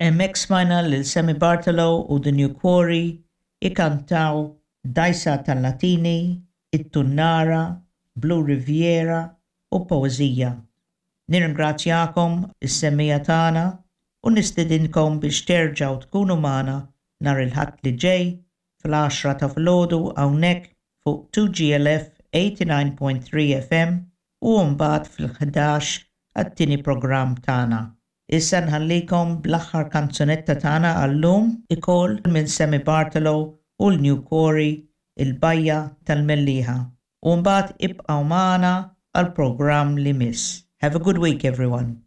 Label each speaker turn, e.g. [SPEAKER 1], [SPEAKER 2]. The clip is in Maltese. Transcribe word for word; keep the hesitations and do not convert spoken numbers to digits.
[SPEAKER 1] Hemmhekk smajna lil Sammy Bartolo u The New Quarry ikantaw Dgħajsa tal-Latini, It-Tunnara, Blue Riviera u Poezija. Nirringrazzjakom is-semmiegħa tagħna u nistedinkom biex terġgħu tkunu magħna nhar il-Ħadd li ġej fl-għaxra ta' filgħodu hawnhekk fuq two G L F eighty-nine point three F M u mbagħad fil-ħdax għat-tieni programm tagħna. Issa nħallikom bl-aħħar kanzunetta tagħna għallum ukoll minn Sammy Bartolo u l-New Quarry, Il-Bajja tal-Mellieħa. U mbagħad ibqgħu magħna għal programm li miss. Have a good week, everyone.